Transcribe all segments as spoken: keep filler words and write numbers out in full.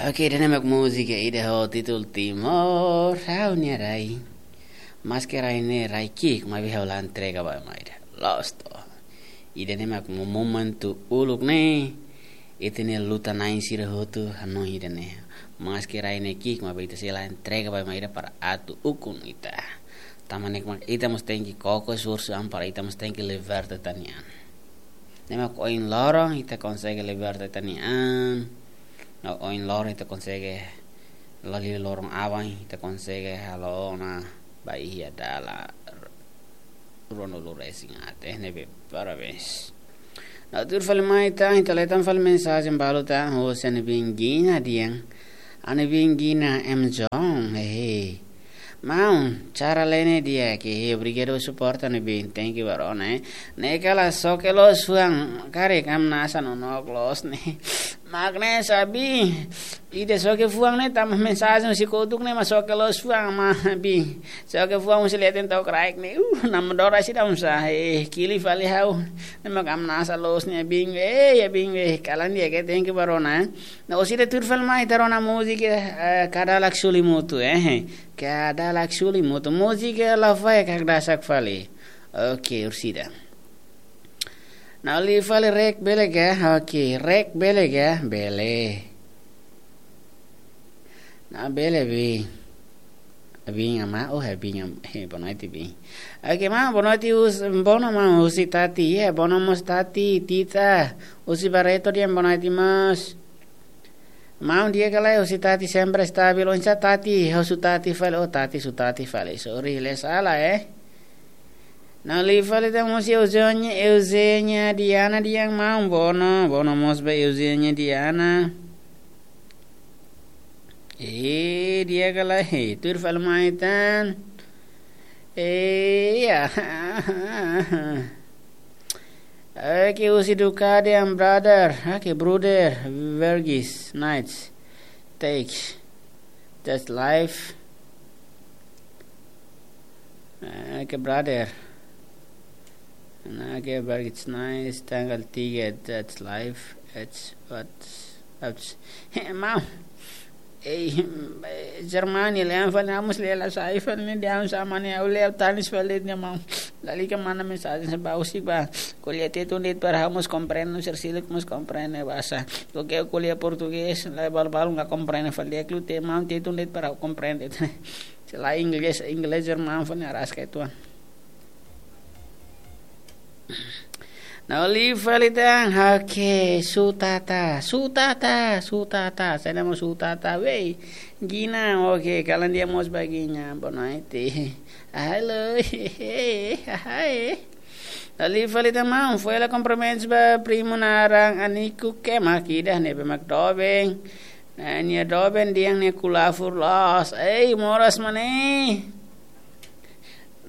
Oke, ida-ne'e mak múzika ida ho títulu Timor, ha'u-nia rai. Maske rai ne'e rai ki'ik, maibé ha'u la entrega ba ema ida. Loos to. Ida-ne'e mak mo-, momentu uluk ne'e, ita-nia luta-na'in sira hotu hanoin ida-ne'e. Maske rai ne'e ki'ik, maibé ita sei la entrega ba ema ida para atu ukun ita. Tanba ne'e mak ita mós tenke koko esforsu an para ita mós tenke liberta ita-nia an. Ne'e mak ohin loron ita konsege liberta ita-nia an. No ohin loron ita konsege, lori loron aban ita konsege halo ona ba iha dala ruanulu-resin aat, ne'ebé parabéns. No tuir fali mai tan, ita leten fali mensajen balu tan, husi ami-nia biin Gina dehan. Ami-nia biin Gina M John, hehe. Maun, cara lene dia ke he, obrigadu suporta ami-nia biin, thank you ba rona, eh. Ne'e kala soke loos fuan, karik hamnasa nonook loos ne'e. Mak ne'e sabi, ida soke fuan ne'e tanba mensajen husi kotuk ne'e mak soke loos fuan mak biin. Soke fuan husi leten to'o kraik ne'e. Uh, nama dora sida unsa. Eh, kili fali ha'u. Ne'e mak hamnasa loos ne'e biin. Eh, ya biin, eh, kalan dia ke thank you ba rona, eh. No, orsida tuir fali mai ita rona múzika, eh, Kadalak Sulimutu, eh. Kadalak Sulimutu. Múzika la fai kak dasak fali. Oke, orsida. No, liu fali react bele ka? Oke, react bele ka? Bele. No, bele biin. Biin ama, oh, eh, biin am-, eh, boa noite, biin. Oke, maun, boa noite, hus-, boa noite, maun, husi Tati, eh, boa noite mós Tati, Tita, husi Barreto dehan boa noite mós. Maun, di'ak ka lae, husi Tati sempre stabil, oinsá Tati, husu Tati fali, oh, Tati, husu Tati fali, sorry, le sala, eh. No, liu fali tan husi Eugenia, Eugenia Diana dehan maun, boa noite, boa noite mós ba Eugenia Diana. Eh, di'ak ka lae, eh, tuir fali mai tan. Eh, ya. Oke, husi Ducati and brother. Oke, brother. Vergis, nice. Take. That's life. Oke, brother. Oke, Vergis, nice. Tanggal tiga, that's life. It's what Ups. Maun. Eh, Germany, le an fali, ha'u mós le la sai fali, ne'e dehan sá mane, ha'u le tanis fali ne'e maun. Lalika manda mensajen sá ba husik ba. Ko'alia Tetun de'it para ha'u mós komprende, no ser silik mós komprende bahasa. Loke ko'alia portugés, la balu-balu la komprende fali, klute maun Tetun de'it para ha'u komprende. Se la inglés, inglés German fali araska itu. No, liu fali tan, oke, sutata, sutata, sutata, saida mak sutata, wei, Gina, oke, kalan di'ak mós ba Gina, boa noite. Hello, hi, hi. No, liu fali tan maun, foin hela kumprimentus ba primu naran Aniku ke mak ida, ne'ebé mak doben. Ne'e nia doben dehan nia kulafur loos. Ei, moras mane.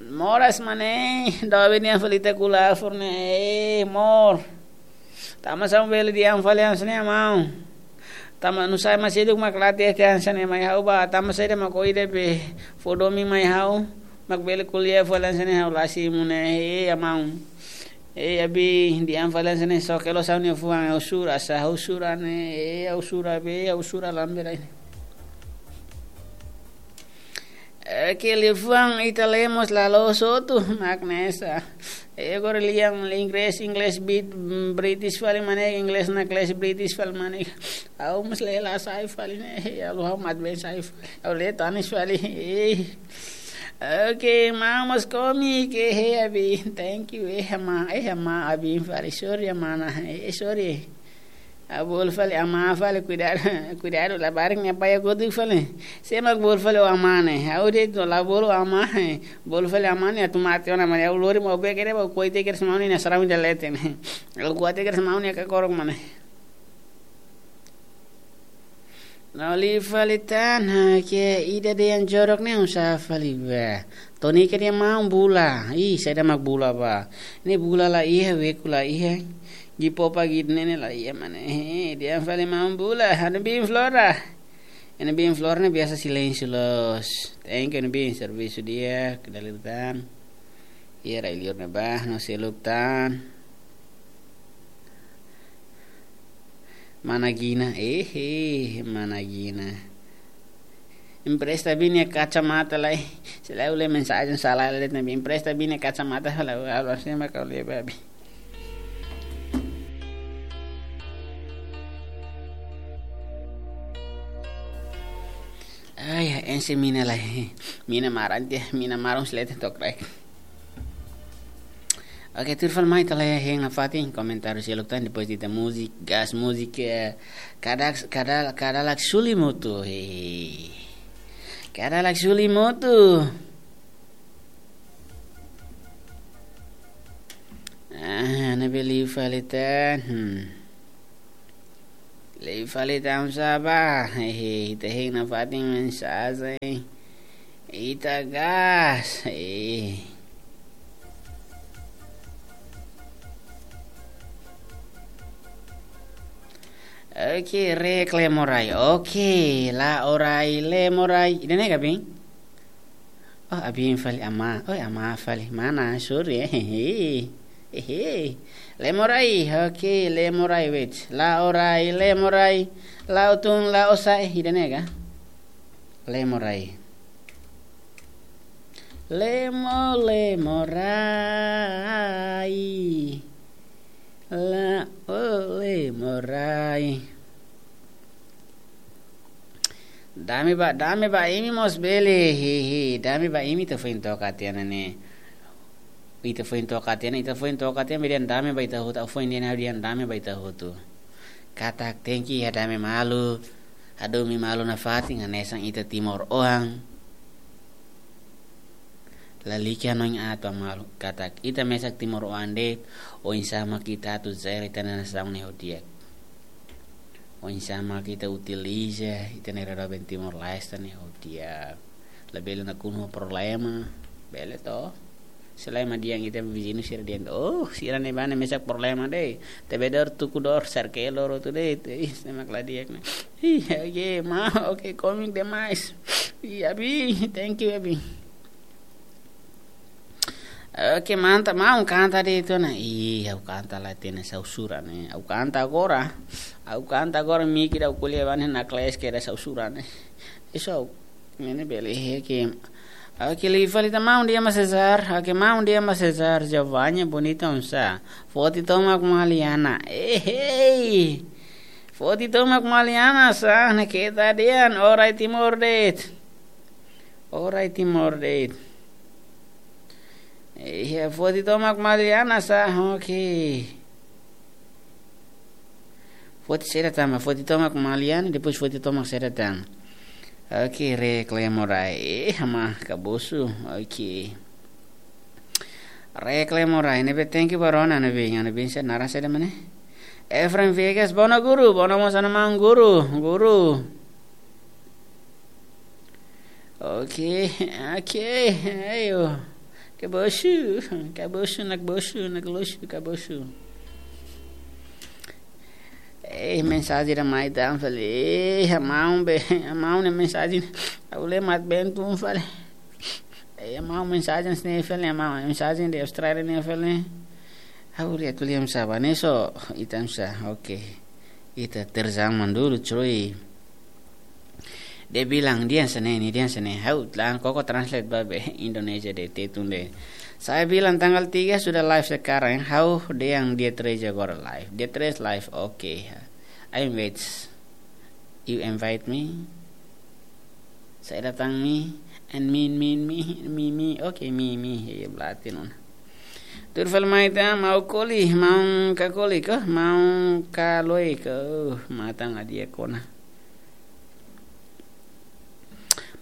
Moras mane, doben dehan fali ita kulafur ne'e, eh, mor. Tanba sá mak bele dehan fali hanesan ne'e maun. Tanba nusá mak seluk mak la hatene hanesan ne'e mai ha'u ba, tanba saida mak ohin de'it fó domin mai ha'u, mak bele ko'alia fali hanesan ne'e ha'u la simu ne'e, eh, ya maun. Eh, ya biin dehan fali hanesan ne'e soke loos ha'u-nia fuan, ha'u sura sá, ha'u sura ne'e, eh, ha'u sura be, ha'u sura lambe lain. Eh, ke liafuan ita lemos la loos hotu, mak ne'e sá. Eh, agora lian inglés, inglés bit-, mm, British fali mane, inglés naklees British fali mane. Ha'u mós le la sai fali ne'e, eh, ha'u ha'u mat ben sai fali. Ha'u le tanis fali, eh. Oke, maun mós komi ke he abi. Thank you, eh, ama, eh, ama, abi fali. Sorry, ama, na, eh, sorry. Ha'u bolu fali ama fali, kuidadu, kuidadu labarik ne'e apoia kotuk fali. Sé mak bolu fali ó ama ne'e. Ha'u de'it la bolu ama, eh. Bolu fali ama ne'e atu mate ona mane. Ha'u lori maubé kere ba koite kere semaun ne'e sarau ida leten. Ha'u koite kere semaun ne'e kakorok mane. No, liu fali tan, ha, ke ida dehan jorok ne'e oinsá fali ba. Tony ke dehan maun bula. Ih, saida mak bula ba. Ne'e bula la iha, beku la iha. Gipopa gid ne'e la iha mane. Eh, dehan fali maun bula. Anu biin Flora. Anu biin Flora ne'e biasa silénsiu loos. Thank you, anu biin, servisu di'ak, dala ida tan. Iha rai-liur ne'ebá, no seluk tan. Mana Gina, eh, eh, Mana Gina. Empresta Bini kacamata lai. Selalu le mensajen sala le, tapi empresta Bini kacamata lai, halo sema kau le babi. Ai, ense mina lai. Mina maran te, mina maran selete tok rek. Oke, tuir fali mai ita la hein nafatin komentáriu seluk tan, depois ita múzika, gas múzika, eh, kada, kada, kada lak suli motu, he. Kada lak suli motu. Ah, ne'ebé liu fali tan, hmm. Liu fali tan sá ba, hehe, ita hein nafatin mensajen. Ita gas, eh. Oke, rek Lemorai. Oke, la orai Lemorai. Ida-ne'e ka, bin? Oh, abin fali ama. Oh, ama fali. Mana, sorry, eh. Hehe. Hehe. Lemorai. Oke, Lemorai, wait. La orai Lemorai. La utun, la osa, eh, ida-ne'e ka? Lemorai. Lemo, Lemorai. La, oh, Lemorai. Dame ba, dame ba imi mós bele, hehe. Dame ba imi ita foin toka tiha ona ne'e. Ita foin toka tiha ona, ita foin toka tiha ona, dehan dame ba ita hotu, ha'u foin dehan ha'u dehan dame ba ita hotu. Katak tenke iha dame malu, hadomi malu nafatin, hanesan ita timoroan. Lalika no in ato malu, katak ita mesak timoroan de'it, oinsá mak ita atu zero ita-nia nasaun ne'e ho di'ak. Oinsá mak ita utiliza ita-nia rara ben Timor-Leste ne'e ho di'ak. Labele nakonu problema, bele to. Selain mak dehan ita viziñu sira dehan, oh, sira ne'ebá ne'e mesak problema de'it. Tebedor tukudor serkelor tu de'it. Ih, ne'e mak la di'ak ne'e. Ih, oke, ma, oke, komik demais. Ih, abi, thank you, abi. Oke, mantap, maun kanta de'it ona. Ih, ha'u kanta la hatene, ha'u sura ne'e. Ha'u kanta agora. Ha'u kanta agora, miki da kuliah bane na kles ke da ha'u sura ne'e. Eso, ne'e bele he ke. Oke, liu fali tan maun dehan ba Cesar. Oke, maun dehan ba Cesar Giovanni bonita oinsá. Foti tomak Maliana. Eh, hei. Foti tomak Maliana sá, ne'e keta dehan, orai Timor de'it. Orai Timor de'it. Iya, foti tomak Maliana sá, oke. Foti saida tan, foti tomak Maliana, depois foti tomak saida tan. Oke, rek Lemorai. Eh, ama kabosu. Oke. Rek Lemorai, ne'ebé thank you ba rona ne'ebé, ne'ebé se naran saida mak ne'e. Efraim Viegas, bono guru, bono mós ona maun guru, guru. Oke, oke, ayo. Kabosu, kabosu, nak bosu, nak lusu, kabosu. Eh, mensajen ida mai tan fali. Eh, maun be, maun ne'e mensajen. Ha'u le mat ben tun fali. Eh, maun mensajen ne'e fali, maun mensajen de Austrália ne'e fali. Ha'u le atu liam saba ne'e so, ita sá, oke. Ita terzang mandulu, cuy. Dehan bilang, dehan hanesan ne'e, dehan hanesan ne'e. Ha'u, langsung koko translate ba be Indonesia de'it, Tetun de'it. Saya bilang tanggal tiga sudah live sekarang, ya. Ha'u dehan dia tres agora live. Dia tres live, oke. I invite. You invite me. Saya datang mi. And me, me, me, me, me. Oke, me, me. Iya, berarti non. Tuir fali mai tan, maun Koli, maun ka Koli ka, maun ka Loi ka, uh, matan adia kona.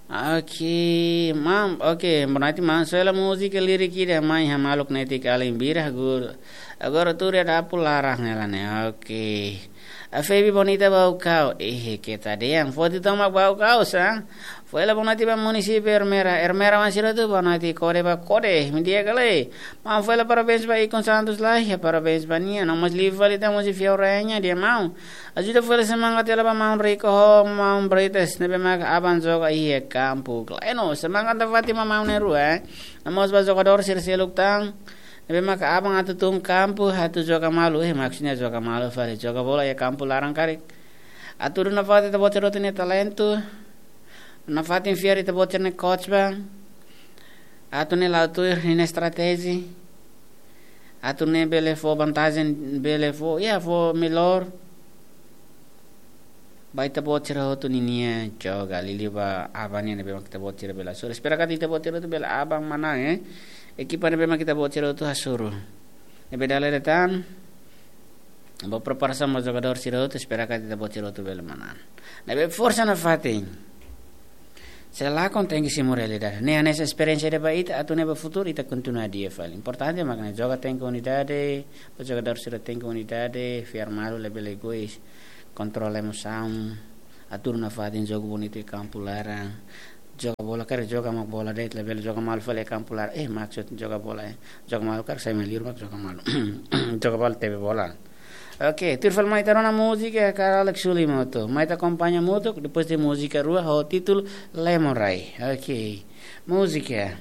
Oke, maun, oke, berarti maun, sela múzika lirik ida mai hamaluk netik alin bira guru. Agora tuur ya dapur larang ya lane. Oke. A Febi bonita bau kau. Eh, keta dehan. Foti tomak bau kau sá. Foin hela bonoite ba munisípiu Ermera. Ermera wan sira tu bonoite, kode ba kode. Mindia kale. Maun foin hela parabéns ba Ikun Santos lai. Ya parabéns ba nia. No mós liu fali tan mós fiau rainha dia maun. Ajuda foin hela semangat hela ba maun Rico ho maun Brites. Ne'ebé mak aban joga iha kampu. Kleno, semangat da Fátima maun ne'e rua, eh. No mós ba jogadór sira seluk tan. Ne'ebé maka aban atu tun kampu, atu joga malu, eh, maksudnya joga malu fali, joga bola iha kampu laran karik. Atu duna fali ita-boot sira hotu nia talentu, nafatin fiar iha ita-boot sira-nia coach ba, atu nune'e la'o tuir nia estratéjia, atu nune'e bele fó vantajen, bele fó, ya, fó melhor. Ba ita-boot sira hotu ninia joga, liuliu ba aban nian ne'ebé mak ita-boot sira bele hasoru. Espera katak ita-boot sira hotu bele aban manán, eh. Ekipa ne'ebé mak ita-boot sira hotu hasoru. Ne'ebé dala ida tan, ba preparasaun ba jogadór sira hotu, espera katak ita-boot sira hotu bele manán. Ne'ebé forsa nafatin. Se lakon tenke simu realidade. Ne'e hanesan esperiénsia ida ba ita, atu nune'e ba futuru ita kontinua di'ak fali. Importante mak ne'e joga tenke unidade, ba jogadór sira tenke unidade, fiar malu labele egoís, kontrola emosaun, atu duna fatin jogu bonitu iha kampu laran. Joga bola karik joga mak bola de'it, labele joga malu fali iha kampu laran. Eh, maksud joga bola, eh. Joga malu karik sai mai liur mak joga malu. Joga bola tebe bola. Oke, tuir fali mai ita rona múzika Karalek Sulimoto. Mai ita akompaña hamutuk, depois de múzika rua ho títulu Lemorai. Oke, múzika.